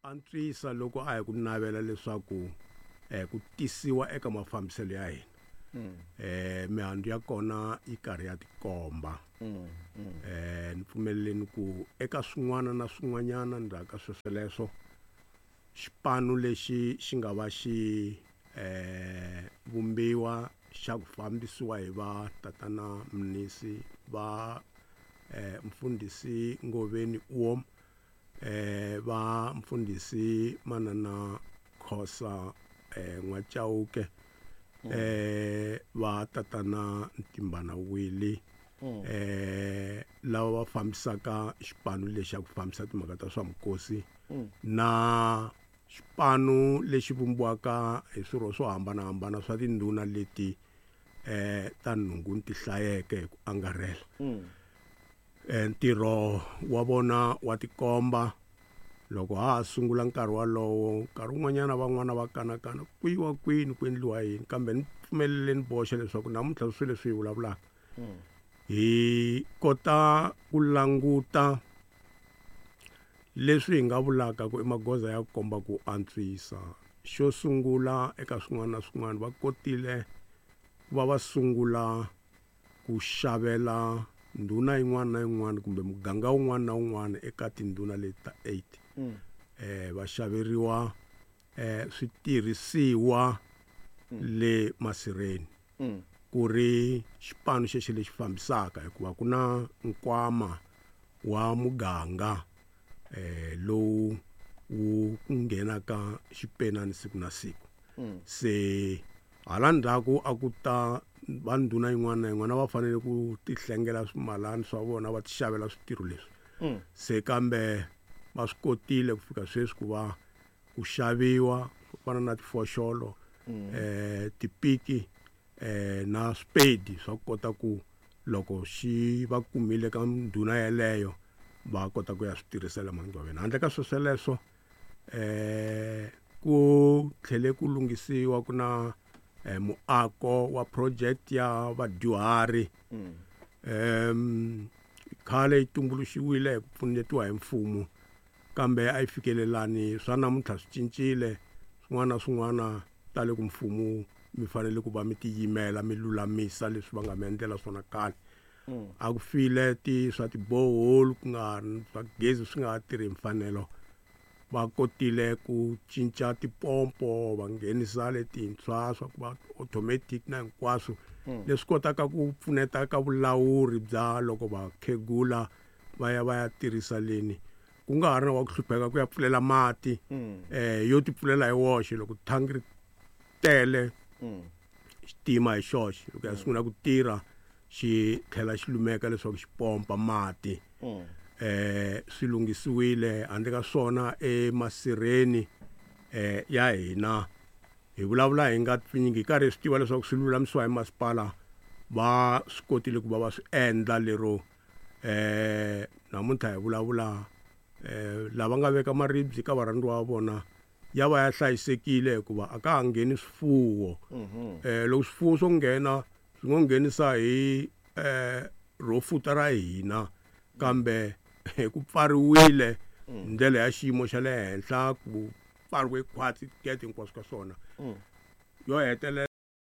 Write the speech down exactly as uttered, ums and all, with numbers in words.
Antswisa loko a hi ku navela leswaku eh, ku tisiwa eka mafambiselo ya hina eh mihandzu ya kona yi karhi ya tikomba eh ni pfumeleleni ku eka swin'wana na swin'wanyana ndzhaku ka swesweleswo xipano lexi xi nga va xi eh vumbiwa xa ku fambisiwa hi va tatana Mnisi va eh mfundhisi Ngoveni Oom eh va mfundhisi Manana Khosa eh N'wachauke eh va tatana Ntimbana Willie eh lava va fambisaka xipano lexi xa ku fambisa timhaka ta swa mikosi na xipano lexi vumbiwaka hi swirho swo hambanahambana swa tindhuna leti eh ta nhungu ti hlayeke hi ku angarhela eh ntirho wa vona wa tikomba loko ha ha sungula nkarhi walowo nkarhi wun'wanyana van'wana va kanakana ku yiwa kwini ku endliwa yini kambe ni pfumeleleni boxa leswaku namuntlha swilo leswi hi vulavulaka hi kota ku languta leswi hi nga vulaka ku i magoza ya ku komba ku antswisa xo sungula eka swin'wana na swin'wana va kotile ku va va sungula ku xavela ndhuna yin'wana na yin'wana kumbe muganga wun'wana na wun'wana eka tindhuna leti ta eight eh va xaveriwa eh switirhisiwa le masirheni ku ri xipano xexo lexi fambisaka hikuva ku na nkwama wa muganga eh lowu wu nghenaka xipenani siku na siku se hala ndzhaku a ku ta va ndhuna yin'wana na yin'wana va fanele ku tihlengela swimalani swa vona va ti xavela switirho leswi se kambe va swi kotile ku fika sweswi ku va ku xaviwa swo fana na tifoxolo eh tipiki eh na swipedi swa ku kota ku loko xi va kumile ka ndhuna yeleyo va kota ku ya swi tirhisela mangcwaveni handle ka swesweleswo eh ku tlhele ku lunghisiwa ku na eh, muako wa project ya vadyuhari um khale yi tumbuluxiwile hi ku pfunetiwa hi mfumo kambe a yi fikelelani swa namuntlha swi cincile swin'wana na swin'wana tale ku mfumo mi fanele ku va mi tiyimela mi lulamisa leswi va nga mi endlela swona khale a ku file ti swa ti-borehole ku nga swa gezi swi nga ha tirhi hi mfanelo va kotile ku cinca tipompo va nghenisa letintshwa swa ku va automatic na hinkwaswo leswi kotaka ku pfuneta ka vulawuri bya loko vakhegula va ya va ya tirhisa leni ku nga ha ri na wa ku hlupheka ku ya pfulela mati eh yo ti pfulela hi woxe loko thangi ri tele xitima hi xoxe loko ya sungula ku tirha xi tlhela xi lumeka leswaku xi pompa mati eh swi lunghisiwile handle ka swona emasirheni eh ya hina hi vulavula hi nga pfinyingi hi karhi hi swi tiva leswaku swi lulamisiwa hi masipala va swi kotile ku va va swi endla lero eh namuntlha hi vulavula eh lava nga veka maribye ka varhandziwa va vona ya va ya hlayisekile hikuva a ka ha ngheni swifuwo eh loko swifuwo swo nghena swi ngo nghenisa hi eh ro futa ra hina kambe ku pfariwile hi ndlela ya xiyimo xa le henhla ku pfariwe khwatsi gate hinkwaswo ka swona yo hetelela.